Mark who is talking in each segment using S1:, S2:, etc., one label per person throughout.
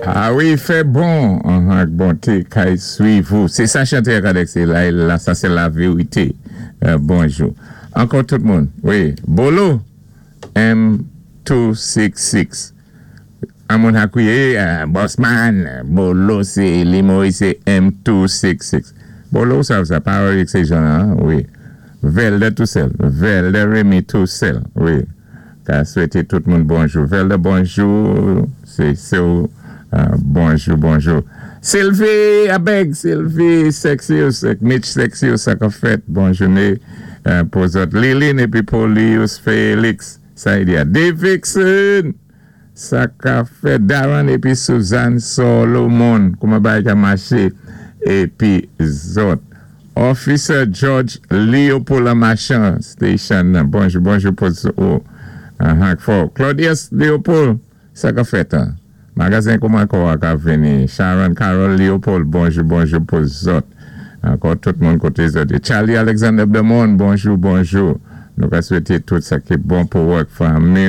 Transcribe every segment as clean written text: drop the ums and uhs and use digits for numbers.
S1: A wi, fè bon ak bonté kay swiv ou. Sé sa chanté a ka sé la, la, sa sé la vérité. Bonjou. Ankò tout moun. Wi, Bolo M266. An moun akwiye, Bossman, Bolo sé Limoy sé M266. Bolo sa pa sé jan, hein, wi. Velde Toussel, Velde Remy Toussel, wi. Ka swété tout moun bonjou. Velde, bonjou, sé bonjou, bonjou. Sylvie Abeg, Sylvie Sexius, Mitch Sexius, sa ka fèt, bon jouné pou zòt. Liline épi Paulius Félix, sa y di. Davidson, sa ka fèt. Darren épi Suzanne Solomon, kouman bagay ka maché, épi zòt. Officer George Leopold Machan Station, bonjou, bonjou pou oh, uh, Claudius Leopold, sa ka fèt, hein? Magazen kouman kwa ka vini. Sharon Carol Leopold, bonjou, bonjou pou zòt. Ankò tout moun koté zòt. Charlie Alexander Demon, bonjou, bonjou. Nou ka swété tout sa ki bon pou wèk fanmi.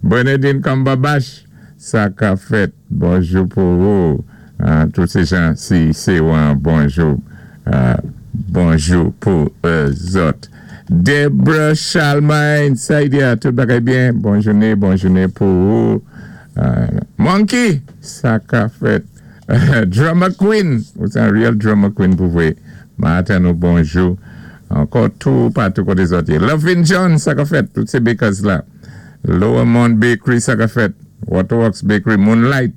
S1: Bernadine Kambabash, sa ka fèt. Bonjou pou ou. Tout sé jan si sé bonjou. Bonjou pou zòt. Debra Chalmain, sa y di, tout bagay byen. Bon jouné, bon jouné pou ou. Monkey, sa ka fèt. Drama Queen, ou sé an real drama queen pou vwé. Maten nou bonjou. Ankò tout patou koté zòt. Lovin John, sa ka fèt. Tout sé bakers la. Lower Mount Bakery, sa ka fèt. Waterworks Bakery, Moonlight,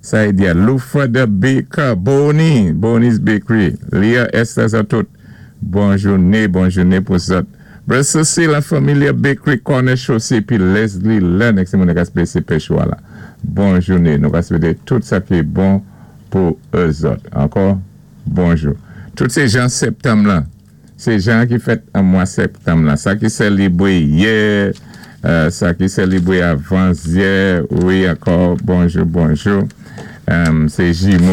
S1: sa y di. Lufa the Baker, Bonnie, Bonnie's Bakery. Leah Esther, sa tout. Bon jouné, bon jouné pou zòt. Brother la Familia Bakery, Corner Chaussée, pi Leslie Lennox, sé moun ka spési péchwa la. Bon jouné. Nou ka swété tout sa ki bon pou zòt. Ankò, bonjou. Tout sé jan septanm la. Sé jan ki fèt an mwa septanm la. Sa ki sélébwé yè, sa ki sélébwé avan yè, wi, ankò, bonjou, bonjou. Sé jimo.